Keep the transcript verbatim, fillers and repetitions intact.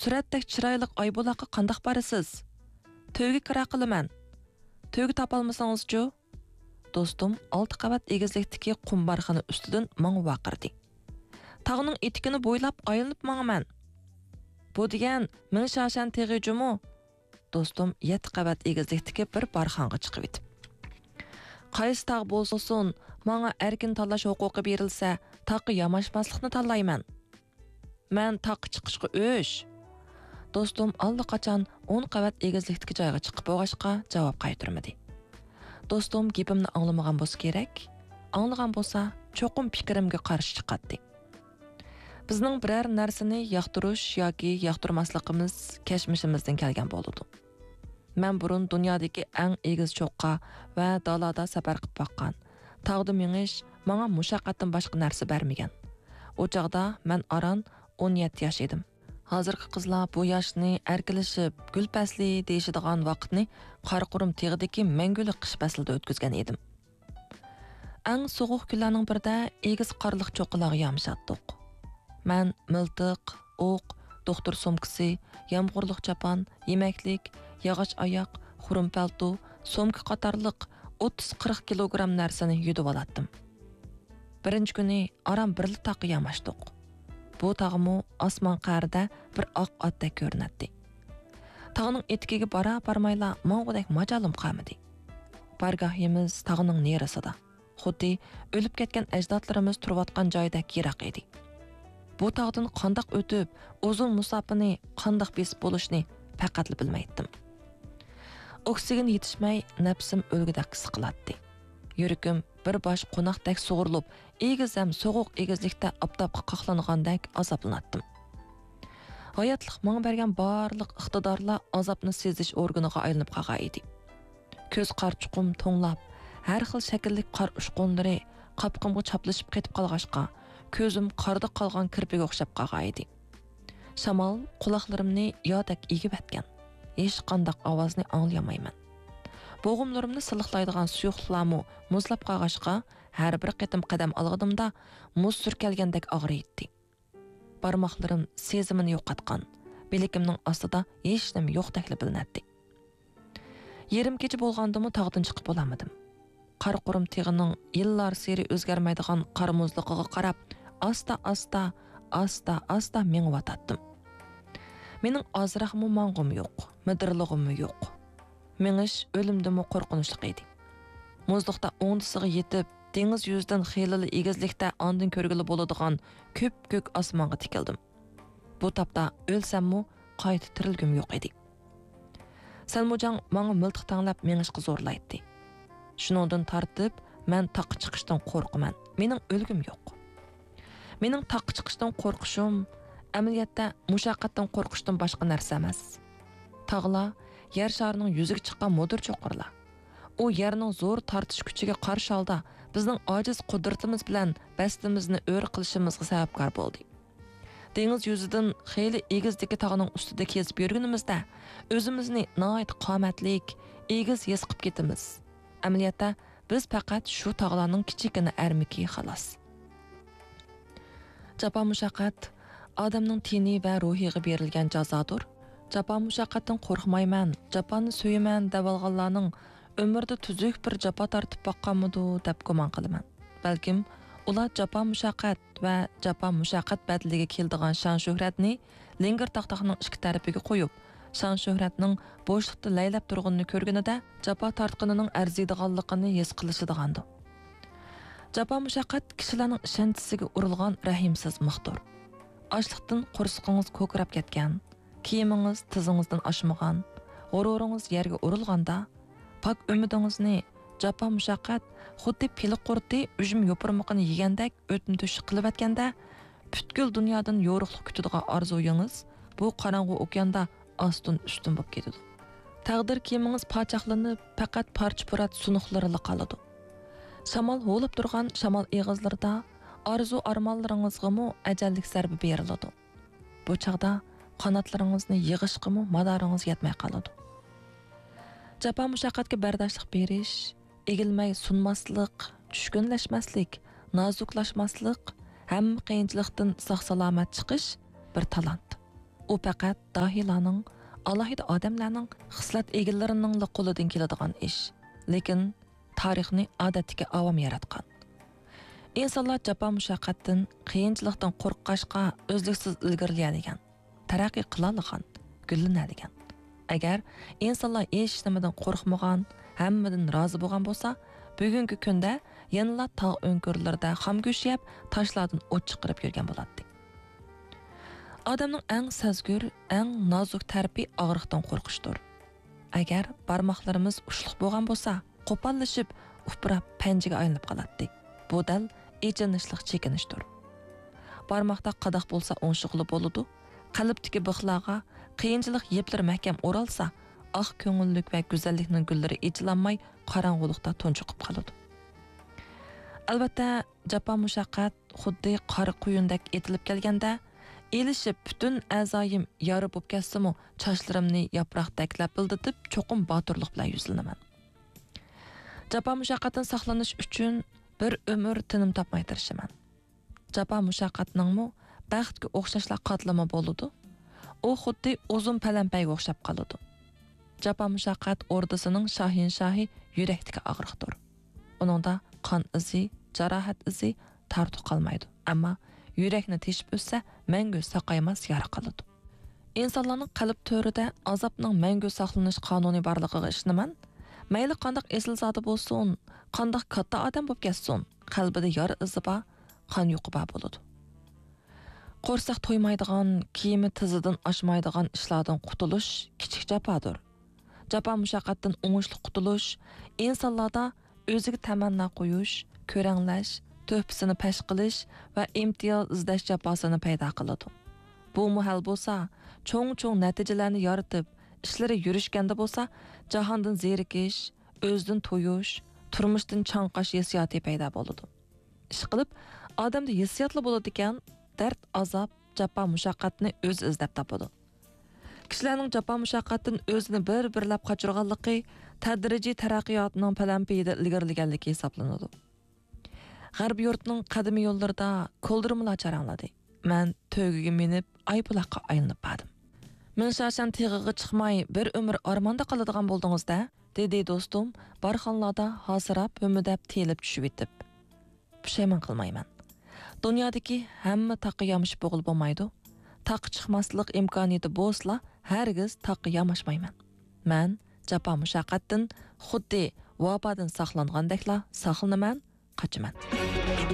سۈرەتتەك چىرايلىق ئايبۇلاققا قانداق بارىسىز؟ تۆگە كىرا قىلىمەن. تۆگە تاپالمىسىڭىزچۇ؟ دوستۇم ئالتە قەۋەت ئېگىزلىكتىكى قۇمبارخانا ئۈستىدىن ماڭا ۋارقىرىدى. تاغنىڭ ئېتىكىنى بويلاپ ئايلىنىپ ماڭىمەن. بۇ دېگەن مىڭ شاشەن تېغى جۇمۇ؟ دوستۇم يەتتە قەۋەت ئېگىزلىكتىكى بىر بارخانغا چىقىۋېتىپ. قايسى تاغ بولسۇن، ماڭا ئەركىن تاللاش ھوقۇقى بېرىلسە، تاغقا ياماشماسلىقنى تاللايمەن. مەن تاغقا چىقىشقا ئۆچ. دوستۇم ئاللىقاچان ئون قەۋەت ئېگىزلىكتىكى جايغا چىقىپ بولغاچقا، جاۋاب قايتۇرمىدى. دوستۇم گېپىمنى ئاڭلىمىغان بولسا كېرەك، ئاڭلىغان بولسا، چوقۇم پىكرىمگە قارشى چىقاتتى. بىزنىڭ بىرەر نەرسىنى ياقتۇرۇش ياكى ياقتۇرماسلىقىمىز كەچمىشىمىزدىن كەلگەن بولىدۇ. مەن بۇرۇن دۇنيادىكى ئەڭ ئېگىز چوققا ۋە دالادا سەپەر قىلىپ باققان. تاغدا مېڭىش ماڭا مۇشەققەتتىن باشقا نەرسە بەرمىگەن. ئۇ چاغدا مەن ئاران ئون يەتتە ياش ئىدىم. ھازىرقى قىزلار بۇ ياشنى ئەركىلىشىپ، گۈل پەسلى دېيىشىدىغان ۋاقىتنى قاراقۇرۇم تېغىدىكى مەڭگۈلۈك قىش پەسلىدە ئۆتكۈزگەن ئىدىم. ئەڭ سوغۇق كۈنلەرنىڭ بىرىدە ئېگىز قارلىق چوققىلارغا يامىشاتتۇق. مەن مىلتىق، ئوق، دوختۇر سومكىسى، يامغۇرلۇق چاپان، يېمەكلىك، ياغاچ ئاياق، خۇرۇم پەلتو، سومكا قاتارلىق ئوتتۇز قىرىق كىلوگرام نەرسىنى يۈدۈۋالاتتىم. بىرىنچى كۈنى ئاران بىرلا تاغقا ياماشتۇق. بۇ تاغمۇ ئاسمان قەرىدە بىر ئاق ئاتتەك كۆرۈنەتتى. تاغنىڭ ئېتىكىگە بارا بارمايلا ماڭغۇدەك ماجالىم قالمىدى. بارگاھىمىز تاغنىڭ نېرىسىدا، خۇددى ئۆلۈپ كەتكەن ئەجدادلىرىمىز تۇرۇۋاتقان جايدەك يىراق ئىدى. بۇ تاغدىن قانداق ئۆتۈپ، ئۇزۇن مۇساپىنى قانداق بېسىپ بولۇشنى پەقەتلا بىلمەيتتىم. ئوكسىگېن يېتىشمەي، نەپسىم ئۆلگۈدەك سىقىلاتتى. يۈرىكىم بىر باش قوناقتەك سۇغۇرۇلۇپ، ئېگىز ھەم سوغۇق ئېگىزلىكتە ئاپتاپقا قاقلانغاندەك ئازابلىناتتىم. ھاياتلىق ماڭا بەرگەن بارلىق ئىقتىدارلار ئازابنى سېزىش ئورگىنىغا ئايلىنىپ قالغان ئىدى. كۆز قارىچۇقۇم توڭلاپ، ھەر خىل شەكىللىك قار ئۇچقۇنلىرى قاپىقىمغا چاپلىشىپ قېتىپ قالغاچقا، كۆزۈم قاردا قالغان كىرپىگە ئوخشاپ قالغان ئىدى. شامال قۇلاقلىرىمنى يادەك ئېگىۋەتكەن. ھېچقانداق ئاۋازنى ئاڭلىيالمايمەن. بوغۇملىرىمنى سىلىقلايدىغان سۇيۇقلۇقلارمۇ مۇزلاپ قالغاچقا، ھەر بىر قېتىم قەدەم ئالغىنىمدا مۇز سۈركەلگەندەك ئاغرىيتتى. بارماقلىرىم سېزىمىنى يوقاتقان، بىلىكىمنىڭ ئاستىدا ھېچنېمە يوقتەكلا بىلىنەتتى. يېرىم كېچە بولغاندىمۇ تاغدىن چىقىپ بولالمىدىم. قاراقۇرۇم تېغىنىڭ يىللارسېرى ئۆزگەرمەيدىغان قار مۇزلۇقىغا قاراپ، ئاستا-ئاستا، ئاستا-ئاستا مېڭىۋاتاتتىم. مېنىڭ ئازراقمۇ ماڭغۇم يوق، مىدىرلىغۇممۇ يوق. مېڭىش ئۆلۈمدىنمۇ قورقۇنچلۇق ئىدى. مۇزلۇقتا ئوڭدىسىغا يېتىپ، دېڭىز يۈزىدىن خېلىلا ئېگىزلىكتە ئاندىن كۆرگىلى بولىدىغان كۆپكۆك ئاسمانغا تىكىلدىم. بۇ تاپتا ئۆلسەممۇ قايتا تىرىلگۈم يوق ئىدى. سەلمۇجاڭ ماڭا مىلتىق تەڭلەپ مېڭىشقا زورلايتتى. شۇنىڭدىن تارتىپ مەن تاغقا چىقىشتىن قورقىمەن. مېنىڭ ئۆلگۈم يوق. مېنىڭ تاغقا چىقىشتىن قورقۇشۇم ئەمەلىيەتتە مۇشەققەتتىن قورقۇشتىن باشقا نەرسە ئەمەس. تاغلار يەر شارىنىڭ يۈزىگە چىققان مۇدىر چوققىلار. ئۇ يەرنىڭ زور تارتىش كۈچىگە قارشى ھالدا بىزنىڭ ئاجىز قۇدرىتىمىز بىلەن بەستىمىزنى ئۆرە قىلىشىمىزغا سەۋەبكار بولدى. دېڭىز يۈزىدىن خېلى ئېگىزدىكى تاغنىڭ ئۈستىدە كېزىپ يۈرگىنىمىزدە، ئۆزىمىزنى ناھايىتى قامەتلىك، ئېگىز ھېس قىلىپ كېتىمىز. ئەمەلىيەتتە، بىز پەقەت شۇ تاغلارنىڭ كىچىككىنە ئەرمىكى، خالاس. جاپا مۇشەققەت ئادەمنىڭ تېنى ۋە روھىغا بېرىلگەن جازادۇر. جاپا مۇشەققەتتىن قورقمايمەن، جاپانى سۆيىمەن دەۋالغانلارنىڭ ئۆمرىدە تۈزۈك بىر جاپا تارتىپ باققانمىدۇ دەپ گۇمان قىلىمەن. بەلكىم ئۇلار جاپا مۇشەققەت ۋە جاپا مۇشەققەت بەدىلىگە كېلىدىغان شان شۆھرەتنى لىڭگىر تاختاقنىڭ ئىككى تەرىپىگە قويۇپ، شان شۆھرەتنىڭ بوشلۇقتا لەيلەپ تۇرغىنىنى كۆرگىنىدە، جاپا تارتقىنىنىڭ ئەرزىيدىغانلىقىنى ھېس قىلىشىدىغاندۇ؟ جاپا مۇشەققەت كىشىلەرنىڭ ئىشەنچىسىگە ئۇرۇلغان رەھىمسىز مىختۇر. ئاشلىقتىن قورسىقىڭىز كوكىراپ كەتكەن، كىيىمىڭىز تىزىڭىزدىن ئاشمىغان، غۇرۇرىڭىز يەرگە ئۇرۇلغاندا، پاك ئۈمىدىڭىزنى جاپا مۇشەققەت خۇددى پىلە قۇرتى ئۈجمە يوپۇرمىقىنى يېگەندەك ئۆتمە تۆشۈك قىلىۋەتكەندە، پۈتكۈل دۇنيادىن يورۇقلۇق كۈتىدىغان ئارزۇيىڭىز بۇ قاراڭغۇ ئوكياندا ئاستىن ئۈستۈن بولۇپ كېتىدۇ. تەقدىر كىيىمىڭىز پاچاقلىنىپ، پەقەت پارچە-پۇرات سۇنۇقلىرىلا قالىدۇ. شامال ھۇۋلاپ تۇرغان شامال ئېغىزلىرىدا ئارزۇ-ئارمانلىرىڭىزغىمۇ ئەجەللىك زەربە بېرىلىدۇ. بۇ چاغدا قاناتلىرىڭىزنى يىغىشقىمۇ مادارىڭىز يەتمەي قالىدۇ. جاپا-مۇشەققەتكە بەرداشلىق بېرىش، ئېگىلمەي سۇنماسلىق، چۈشكۈنلەشمەسلىك، نازۇكلاشماسلىق، ھەممە قىيىنچىلىقتىن ساق-سالامەت چىقىش بىر تالانت. ئۇ پەقەت داھىيلارنىڭ، ئالاھىدە ئادەملەرنىڭ، خىسلەت ئىگىلىرىنىڭلا قولىدىن كېلىدىغان ئىش. لېكىن تارىخنى ئادەتتىكى ئاۋام ياراتقان. ئىنسانلار جاپا-مۇشەققەتتىن، قىيىنچىلىقتىن قورققاچقا ئۈزلۈكسىز ئىلگىرىلىيەلىگەن، تەرەققىي قىلالىغان، گۈللىنەلىگەن. ئەگەر ئىنسانلار ھېچ نېمىدىن قورقمىغان، ھەممىدىن رازى بولغان بولسا، بۈگۈنكى كۈندە يەنىلا تاغ ئۆڭكۈرلىرىدە خام گۆش يەپ، تاشلاردىن ئوت چىقىرىپ يۈرگەن بولاتتى. ئادەمنىڭ ئەڭ سەزگۈر، ئەڭ نازۇك تەرىپى ئاغرىقتىن قورقۇشتۇر. ئەگەر بارماقلىرىمىز ئۇچلۇق بولغان بولسا، قوپاللىشىپ، ئۇپراپ پەنجىگە ئايلىنىپ قالاتتى. بۇ دەل ئېچىنىشلىق چېكىنىشتۇر. بارماقتا قاداق بولسا ئوڭشىغىلى بولىدۇ. قەلبتىكى بىخلارغا قىيىنچىلىق يىپلىرى مەھكەم ئورالسا، ئاق كۆڭۈللۈك ۋە گۈزەللىكنىڭ گۈللىرى ئېچىلالماي قاراڭغۇلۇقتا تۇنجۇقۇپ قالىدۇ. ئەلۋەتتە، جاپا-مۇشەققەت خۇددى قارا قۇيۇندەك ئېتىلىپ كەلگەندە، ئېلىشىپ پۈتۈن ئەزايىم يارا بولۇپ كەتسىمۇ، چاچلىرىمنى ياپراقتەك لەپىلدىتىپ، چوقۇم باتۇرلۇق بىلەن يۈزلىنىمەن. جاپا-مۇشەققەتتىن ساقلىنىش ئۈچۈن بىر ئۆمۈر تىنىم تاپماي تىرىشىمەن. جاپا-مۇشەققەتنىڭمۇ بەختكە ئوخشاشلا قاتلىمى بولىدۇ. ئۇ خۇددى ئۇزۇن پەلەمپەيگە ئوخشاپ قالىدۇ. جاپا-مۇشەققەت ئوردىسىنىڭ شاھىنشاھى يۈرەكتىكى ئاغرىقتۇر. ئۇنىڭدا قان ئىزى، جاراھەت ئىزى، تارتۇق قالمايدۇ. ئەمما يۈرەكنى تېشىپ ئۆتسە، مەڭگۈ ساقايماس يارا قالىدۇ. ئىنسانلارنىڭ قەلب تۆرىدە ئازابنىڭ مەڭگۈ ساقلىنىش قانۇنى بارلىقىغا ئىشىنىمەن. مەيلى قانداق ئېسىلزادە بولسۇن، قانداق كاتتا ئادەم بولۇپ كەتسۇن، قەلبىدە يارا ئىزى بار، قان يۇقى بار بولىدۇ. قورساق تويمايدىغان، كىيىمى تىزىدىن ئاشمايدىغان ئىشلاردىن قۇتۇلۇش كىچىك جاپادۇر. جاپا-مۇشەققەتتىن ئوڭۇشلۇق قۇتۇلۇش ئىنسانلاردا ئۆزىگە تەمەننا قويۇش، كۆرەڭلەش، تۆھپىسىنى پەش قىلىش ۋە ئىمتىياز ئىزدەش جاپاسىنى پەيدا قىلىدۇ. بۇمۇ ھەل بولسا، چوڭ-چوڭ نەتىجىلەرنى يارىتىپ، ئىشلىرى يۈرۈشكەندە بولسا، جاھاندىن زېرىكىش، ئۆزىدىن تويۇش، تۇرمۇشتىن چاڭقاش ھېسسىياتى پەيدا بولىدۇ. ئىشقىلىپ، ئادەمدە ھېسسىياتلا بولىدىكەن، دەرد، ئازاب، جاپا-مۇشەققەتنى ئۆزى ئىزدەپ تاپىدۇ. كىشىلەرنىڭ جاپا-مۇشەققەتتىن ئۆزىنى بىر-بىرلەپ قاچۇرغانلىقى تەدرىجىي تەرەققىياتنىڭ پەلەمپىيىدە ئىلگىرىلىگەنلىكى ھېسابلىنىدۇ. غەربىي يۇرتنىڭ قەدىمىي يوللىرىدا كولدۇرمىلار چاراڭلىدى. مەن تۆگىگە مىنىپ، ئايپۇلاققا ئايلىنىپ باردىم. مىڭشاشەن تېغىغا چىقماي، بىر ئۆمۈر ئارماندا قالىدىغان بولدىڭىز-دە، دېدى دوستۇم، بارخانلاردا ھاسىراپ، ھۆمۈدەپ، تېلىپ چۈشۈۋېتىپ. پۇشايمان قىلمايمەن. دۇنيادىكى ھەممە تاغقا يامىشىپ بولغىلى بولمايدۇ. تاغقا چىقماسلىق ئىمكانىيىتى بولسىلا، ھەرگىز تاغقا ياماشمايمەن. مەن جاپا-مۇشەققەتتىن خۇددى ۋابادىن ساقلانغاندەكلا ساقلىنىمەن، قاچىمەن.